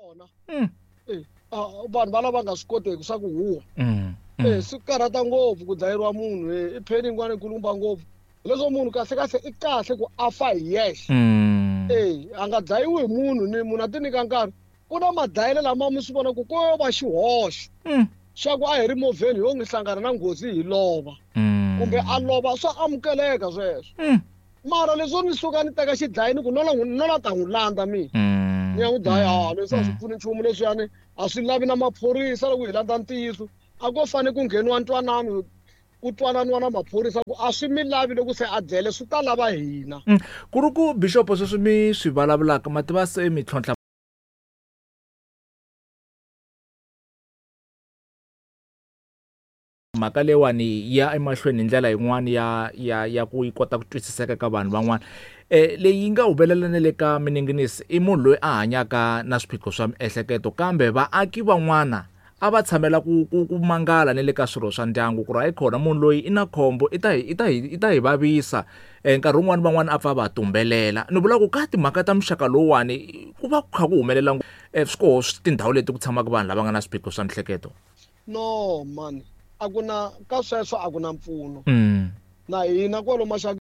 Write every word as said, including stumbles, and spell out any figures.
Kona. Mm. Eh, vanhu va lava nga swi koteki swa ku huwa. Mm. Eh, swi karhata ngopfu ku dlayeriwa munhu eh, i pain yin'wana yi ngopfu. Leswo munhu kahle kahle i kahle ku a fa hi yexe. Mm. Eh, a nga dlayiwi hi munhu ni munhu a ti nyika nkarhi. Ku na madlayelo lama mi swi vona ku ko va xihoxo. Mm. Xa ku a hi ri movheni yo n'wi hlangana na nghozi hi lova. Mm. Kumbe a lova swa amukeleka sweswo. Mm. Mara leswo ni suka ni teka xidlayi ni ku no la n'wi no la ta n'wi landza mina. Mm. Ni ya n'wi dlaya Mm. ha leswi a swi pfuni nchumu leswiyani a swi lavi na maphorisa loko hi landza ntiyiso. A ko fane ku ngheniwa ntwanano ku twananiwa na maphorisa ku a swi mi lavi loko se a dlele swi ta lava hina. Mm. Ku ri ku bishop sweswi mi swi vulavulaka ma tiva se mi tlhontlha mhaka leyiwani ya emahlweni hi ndlela yin'wani ya ya ya ku yi kota ku twisiseka ka vanhu van'wana. Eh leyi yi nga humelela na le ka mininginisi i munhu loyi a hanyaka na swiphiqo swa miehleketo kambe vaaki van'wana a va tshamela ku ku ku mangala na le ka swirho swa ndyangu ku ri hayi khona munhu loyi i na khombo i ta hi i ta hi i ta hi vavisa. Eh nkarhi wun'wani van'wani a pfa va tumbelela. Ni vula ku ka timhaka ta muxaka lowuwani ku va ku kha ku humelela eh swi koho tindhawu leti ku tshamaka vanhu lava nga na swiphiqo swa miehleketo. No man, a ku na ka sweswo a ku na mpfuno. Mm. Na hina kwalo maxakeni